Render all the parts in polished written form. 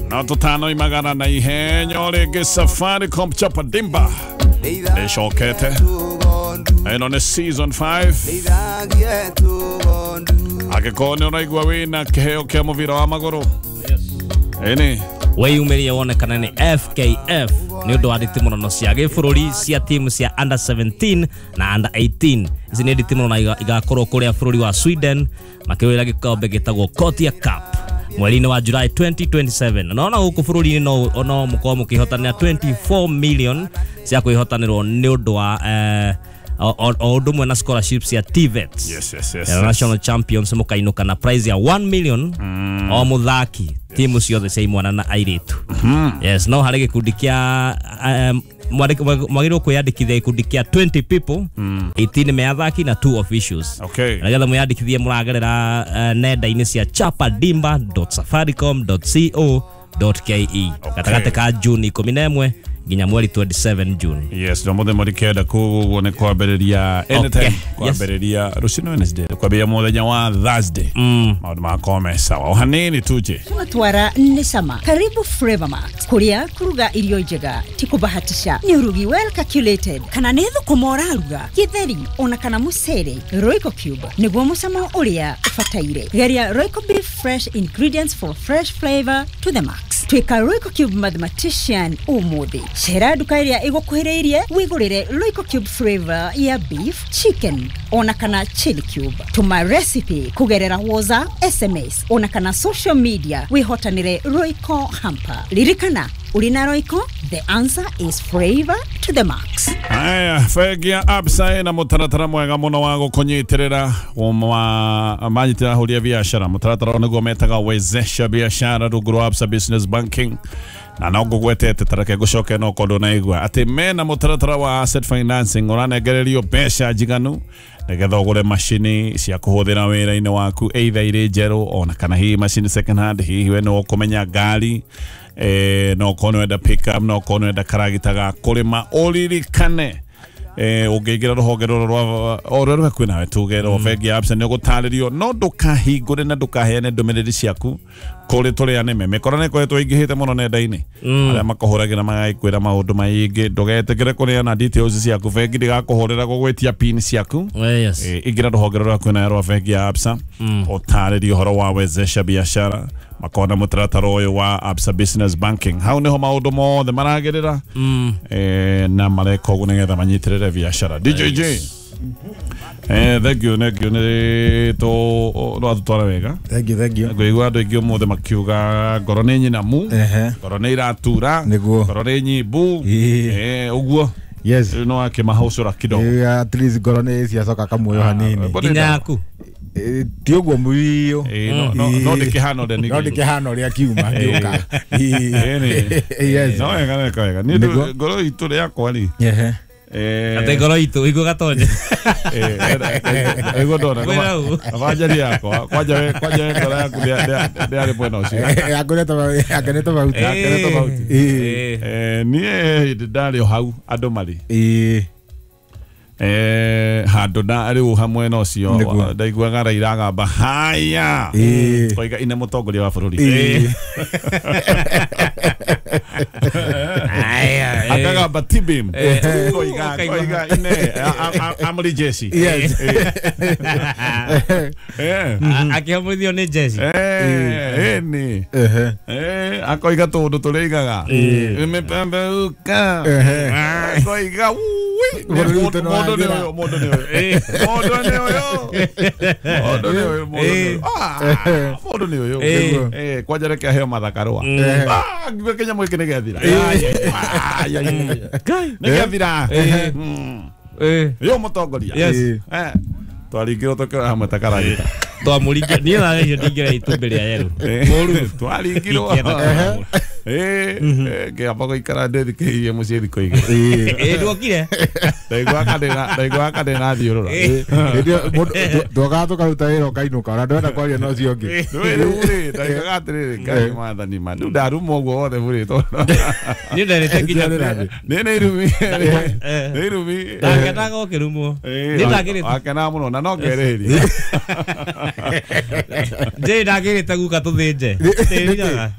Na tũtano imagana na ihenya rĩngĩ Safaricom Chapa Dimba ĩcokete. Ĩno nĩ season 5. Angĩkorwo nĩ ũraigua wĩna kĩheo kĩa mũbira wa magũrũ, ĩni weyumĩrie wone kana nĩ FKF nĩ ũndũ wa nditimũrano cia gĩbũrũri cia timu cia under 17 na under 18. Ici nĩ nditimũrano igakorwo kũrĩa bũrũri wa Sweden makĩrũĩra gĩkombe gĩtagwo Gothia Cup mweri-inĩ wa July 2027. Na ona gũkũ bũrũri-inĩ no mũkorwo mũkĩhotanĩra 24 million cia kwĩhotanĩrwo nĩ ũndũ wa o ũndũ ũmwe na scholarships ya TVET. Yes, yes, yes. National champions mũkainũka na prize ya 1 million o mũthaki timu ciothe cia imwana na airĩtu. Yes, no harĩ gĩkundi kĩa mwagĩrĩirwo kwĩyandĩkithia gĩkundi kĩa 20 people, 18 me athaki na 2 officials. Okay. Nĩgetha mwĩyandĩkithie mũragerera nenda-inĩ cia chapadimba.safaricom.co.ke gatagatĩ ka June 11 nginya mweri 27 June. Yes, no mũthenya mweri kenda koguo nĩ kwambĩrĩria anytime, kwambĩrĩria rũciũ Wednesday, kwambĩrĩria mũthenya wa Thursday. Maũndũ makorwo me sawa. O hanini tuje. Twatwara nĩ cama. Karibu Flavor Max, kũrĩa kũruga irio njega ti kũbahatisha, nĩ ũrugi well calculated, kana nĩ thũkũma ũraruga, gĩtheri ona kana mũcere. Royco Cube nĩguo mũcamo ũrĩa ũbataire. Geria Royco Beef, fresh ingredients for fresh flavor to the max. Tuĩka Royco Cube mathematician ũmũthĩ. Cera nduka ĩrĩa ĩgũkuhĩrĩirie wĩgũrĩre Royco Cube flavor ya beef, chicken ona kana chili cube. Tũma recipe kũgerera WhatsApp, SMS ona kana social media wĩhotanĩre Royco hamper. Ririkana, ũrĩ na Royco, the answer is flavor to the max. Aya, bengi ya Absa ĩna mũtaratara mwega mũno wa gũkũnyitĩrĩra wa manyitĩrĩra ahũri a biacara. Mũtaratara ũyũ nĩguo metaga wezesha biashara rungu rwa Absa Business Banking. Na no ngũgwetete tareke ngũcoke no korwo ndũnaigua atĩ mena mũtaratara wa asset financing ũranengererio mbeca njiganu nĩgetha ũgũre macini cia kũhũthĩra wĩra-inĩ waku, either irĩ njerũ ona kana hihi macini second hand. Hihi we nĩ ũkũmenya ngari, no ũkorwo nĩwenda pick up, no ũkorwo nĩwenda karagita ga kũrĩma. Ũririkane ũngĩingĩra rũhonge rũrũ rwa o rũrĩa rwĩ hakuhĩ nawe, tuge rwa bengi ya Absa, nĩ ũgũtarĩrio, no ndũkahingũre na ndũkaheane ndũmĩrĩri ciaku kũrĩ tũrĩa nĩme. Mĩkora nĩ ĩkoretwo ĩingĩhĩte mũno nenda-inĩ, arĩa makũhũragĩra magagĩkwĩra maũndũ maingĩ. Ndũgetĩkĩre kũneana details ciaku, bengi ndĩgakũhũrĩra gũgwĩtia pin ciaku. Yes. Ingĩra rũhonge rũrĩa hakuhĩ nawe rwa bengi ya Absa, ũtarĩrie ũhoro wa wezesha biashara, makona mũtaratara ũyũ wa Absa Business Banking. Hau nĩho maũndũ mothe maragĩrĩra na mareka ũguo nĩgetha manyitĩrĩre biashara. DJJ, thank you, thank you, nĩ rwatũtwara wega. Thank you, thank you. Ngũigua andũ aingĩ ũmũthĩ makiuga ngoro nĩ nyinamu, ngoro nĩ iratura, ngoro nĩ nyimbu, ũguo. Yes. Rĩu no akĩmahũcũra kidogo. At least ngoro nĩ ciacoka kamuoyo hanini. Nginya yaku. Ti ũguo mũiyo. No ndĩkĩhana ũrĩa No ndĩkĩhana ũrĩa kiuma gĩũka. Yes. No wega, wega, wega. Niĩ ngoro itũ rĩakwa rĩ. Ate ngoro itũ igũ gatonye. Ĩguo ndona. Abanjari yakwa kwanja we ngoro yaku ndĩarĩ mwena ũcio. Yakene tofauti. Yakene tofauti. Niĩ hĩndĩ ndarĩ o hau andũ marĩ. Handũ na rĩu hamwe na ũcio ndaiguaga Raila agamba haya koiga ine mũtongoria wa bũrũri akagamba tibim koiga koiga ine amri jeshi. Yes. Akĩhomithio nĩ jeshi. Ĩni akoiga tũndũ tũrĩa imepambauka koiga mũndũ nĩ ũyũ, mũndũ nĩ ũyũ, mũndũ nĩ ũyũ, mũndũ nĩ ũyũ, mũndũ nĩ ũyũ. Kwanja reke aheo mathakarũa. Ngiuga kĩnyamũ gĩkĩ nĩ gĩathira, nĩ gĩathira. Yo mũtongoria twaringirwo tũkĩoya hamwe ta karagita. Twamũringia niĩ nagerio ndingĩra itumbĩ rĩa yerũ mũru twaringirwo. Ngĩamba gũikara ndĩthikĩrĩirie mũciĩ thikũ igĩrĩ. Ndwokire. Ndaigua kandĩ thiũrũra. Twokaga tũkaruta wĩra ũkainũka ona ndwenda kwaria na ũcio ũngĩ. Rĩu rĩ ndaiguaga atĩrĩrĩ, Ngai mwathani ma rĩu ndaruma ũguo wothe burĩtwo. Niĩ nderĩte nginya nĩ irumi, nĩ irumi. Ndakenaga ũkĩrumwo. Niĩ ndagĩrĩte. Wakenaga mũno na no ngerĩhĩria. Njĩ ndagĩrĩte guka tũthĩnje. Tĩriraga.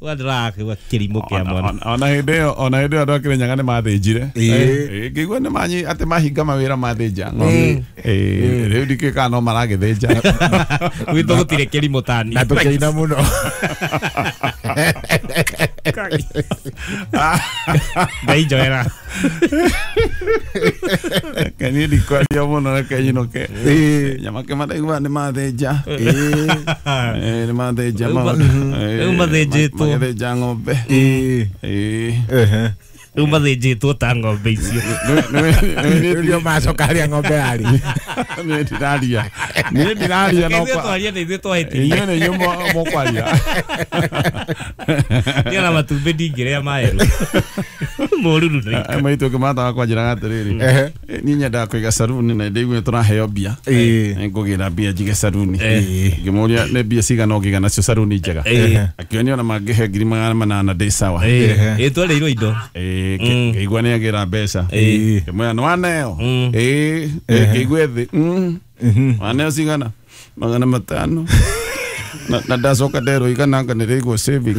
Ndĩrakĩgua kĩrimũ kĩa mwana. Ona hĩndĩ ĩyo, ona hĩndĩ ĩyo andũ a Kĩrĩnyaga nĩ mathĩnjire. Ngĩigua nĩ manyi atĩ mahinga mawĩra mathĩnja ng'ombe. Rĩu ndikĩũĩ kana no maragĩthĩnja. Gwitũ gũtirĩ kĩrimũ ta niĩ. Na tũkĩina mũno. Ngai njoera. Reke niĩ ndikwaria mũno, reke nyinũke. Nyamake maraigua nĩ mathĩnja. Nĩ mathĩnja maũndũ. Rĩu mathĩnjĩtwo. Magĩthĩnja ng'ombe. Rĩu mathĩnjĩtwo ta ng'ombe icio. Rĩu nĩo macoka harĩa ng'ombe yarĩ. Niĩ ndiraria. Niĩ ndiraria no Ithuĩ twaria na ithuĩ twahĩtirie. Inyuĩ nĩ inyuĩ mũkwaria. Niĩ ona matumbĩ ndingĩrĩa maerũ. Mũruru nĩ. Maitũ kĩmata wakwa njĩraga atĩrĩrĩ, niĩ nyendaga kũiga saruni na ndĩigue tũraheo mbia. Ngũgĩra mbia njige saruni. Ngĩmũria nĩ mbia cigana ũngĩiga nacio saruni njega. Akĩonia ona mangĩhe 800,000 ndĩ sawa. Twarĩirwo indo. Ngĩigua nĩ agĩra mbeca. Ngĩmwĩra nĩ waneo. Ngĩigua thĩ. Waneo cigana? 500. Na ndacoka nderwo igana anga nĩrĩigwo saving.